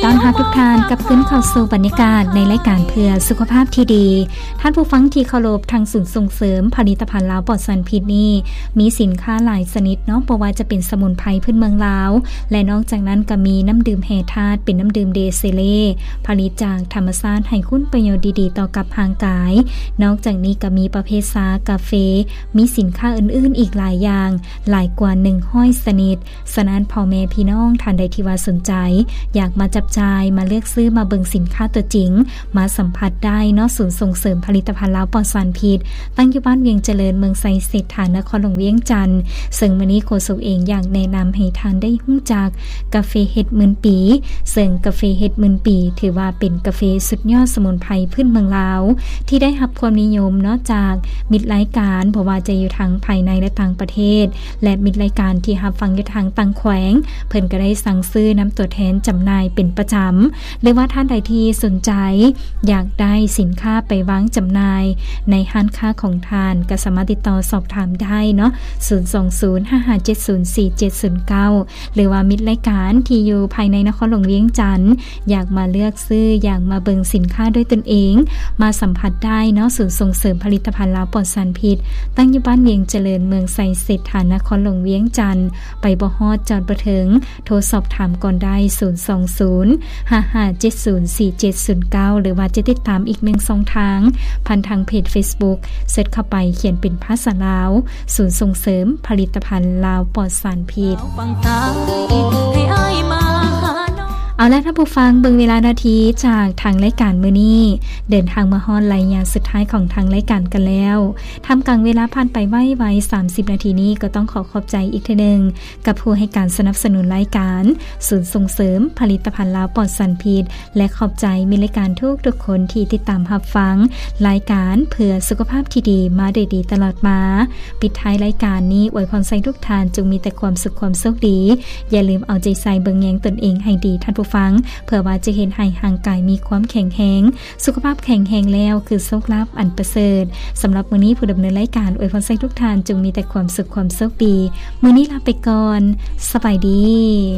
ຕ້ອນຮັບທຸກທ່ານກັບຄືນເຂົ້າສູ່ບັນຍາກາດໃນລາຍການເພື່ອສຸຂະພາບທີ່ດີ. ທ່ານຜູ້ຟັງທີ່ເຄົາລົບ, ທາງສູນສົ່ງເສີມຜະລິດຕະພັນລາວປອດສານພິດນີ້ ມີສິນຄ້າຫຼາຍຊະນິດເນາະ, ບໍ່ວ່າຈະເປັນສະໝຸນໄພພື້ນເມືອງລາວ ແລະ ນອກຈາກນັ້ນກໍມີນ້ຳດື່ມແຮ່ທາດ ເປັນນ້ຳດື່ມເດເຊເລ ຜະລິດຈາກທຳມະຊາດ ໃຫ້ຄຸນປະໂຫຍດດີໆຕໍ່ກັບຮ່າງກາຍ. ນອກຈາກນີ້ກໍມີປະເພດຊາ, ກາເຟ, ມີສິນຄ້າອື່ນໆອີກຫຼາຍຢ່າງ, ຫຼາຍກວ່າໜຶ່ງຮ້ອຍຊະນິດ. ສະນັ້ນ ພໍ່ແມ່ພີ່ນ້ອງທ່ານໃດທີ່ວ່າສົນໃຈ ຢາກມາຈັບຈ່າຍ, ມາເລືອກຊື້, ມາເບິ່ງສິນຄ້າຕົວຈິງ, ມາສຳຜັດໄດ້ເນາະ. ສູນສົ່ງເສີມຜະລິດຕະພັນລາວປອດສານພິດ ຕັ້ງຢູ່ບ້ານວຽງຈະເລີນ, ເມືອງໄຊເສດຖາ, ນະຄອນຫຼວງວຽງຈັນ. ເຊິ່ງມື້ນີ້ໂຄສົກເອງຢາກແນະນຳໃຫ້ທ່ານໄດ້ຮູ້ຈັກກາເຟເຫັດໝື່ນປີ, ເຊິ່ງກາເຟເຫັດໝື່ນປີ ຖືວ່າເປັນກາເຟສຸດຍອດສະໝຸນໄພພື້ນເມືອງລາວ ທີ່ໄດ້ຮັບຄວາມນິຍົມເນາະ ຈາກມິດລາຍການ, ບໍ່ວ່າຈະຢູ່ທັງພາຍໃນ ແລະ ຕ່າງປະເທດ. ແລະ ມິດລາຍການທີ່ຮັບຟັງຢູ່ທາງຕ່າງແຂວງ ເພິ່ນກໍໄດ້ສັ່ງຊື້ນຳຕົວແທນຈຳໜ່າຍເປັນປະຈຳ ຫຼືວ່າທ່ານໃດທີ່ສົນໃຈຢາກໄດ້ສິນຄ້າໄປວາງຈຳໜ່າຍໃນຮ້ານຄ້າຂອງທ່ານ ກໍສາມາດຕິດຕໍ່ສອບຖາມໄດ້ເນາະ, ສູນສອງສູນ ຫ້າຫ້າເຈັດສູນ ສີ່ເຈັດສູນເກົ້າ ຫຼືວ່າມິດລາຍການທີ່ຢູ່ພາຍໃນນະຄອນຫຼວງວຽງຈັນ ຢາກມາເລືອກຊື້, ຢາກມາເບິ່ງສິນຄ້າດ້ວຍຕົນເອງ, ມາສຳຜັດໄດ້ເນາະ. ສູນສົ່ງເສີມຜະລິດຕະພັນລາວປອດສານພິດ ຕັ້ງຢູ່ບ້ານວຽງຈະເລີນ, ເມືອງໄຊເສດຖາ, ນະຄອນຫຼວງວຽງຈັນ. ໄປບໍ່ຮອດ, ຈອດບໍ່ເຖິງ, ໂທສອບຖາມກ່ອນໄດ້ ສູນສອງສູນ ຫ້າຫ້າເຈັດສູນ ສີ່ເຈັດສູນເກົ້າ ຫຼືວ່າຈະຕິດຕາມອີກໜຶ່ງຊ່ອງທາງ ຜ່ານທາງເພຈເຟສບຸກ, ເສີດເຂົ້າໄປຂຽນເປັນພາສາລາວ ສູນສົ່ງເສີມຜະລິດຕະພັນລາວປອດສານພິດ. ເອົາລະ ທ່ານຜູ້ຟັງ, ເບິ່ງເວລານາທີຈາກທາງລາຍການມື້ນີ້ ເດີນທາງມາຮອດໄລຍະສຸດທ້າຍຂອງທາງລາຍການກັນແລ້ວ. ທ່າມກາງເວລາຜ່ານໄປໄວໆ ສາມສິບນາທີນີ້ ກໍຕ້ອງຂໍຂອບໃຈອີກເທື່ອໜຶ່ງ ກັບຜູ້ໃຫ້ການສະໜັບສະໜູນລາຍການ ສູນສົ່ງເສີມຜະລິດຕະພັນລາວປອດສານພິດ ແລະ ຂອບໃຈມິດລາຍການທຸກໆຄົນທີ່ຕິດຕາມຮັບຟັງລາຍການເພື່ອສຸຂະພາບທີ່ດີມາໂດຍດີຕະຫຼອດມາ. ປິດທ້າຍລາຍການນີ້ ອວຍພອນໃຫ້ທຸກທ່ານຈົ່ງມີແຕ່ຄວາມສຸກຄວາມໂຊກດີ. ຢ່າລືມເອົາໃຈໃສ່ເບິ່ງແຍງຕົນເອງໃຫ້ດີ ທ່ານຜູ້ຟັງ, ເພື່ອວ່າຈະເຮັດໃຫ້ຮ່າງກາຍມີຄວາມແຂງແຮງ, ສຸຂະພາບແຂງແຮງແລ້ວ ຄືໂຊກລາບອັນປະເສີດ. ສຳລັບມື້ນີ້ ຜູ້ດຳເນີນລາຍການ ອວຍພອນໃຫ້ທຸກທ່ານຈົ່ງມີແຕ່ຄວາມສຸກຄວາມໂຊກດີ. ມື້ນີ້ລາໄປກ່ອນ. ສະບາຍດີ.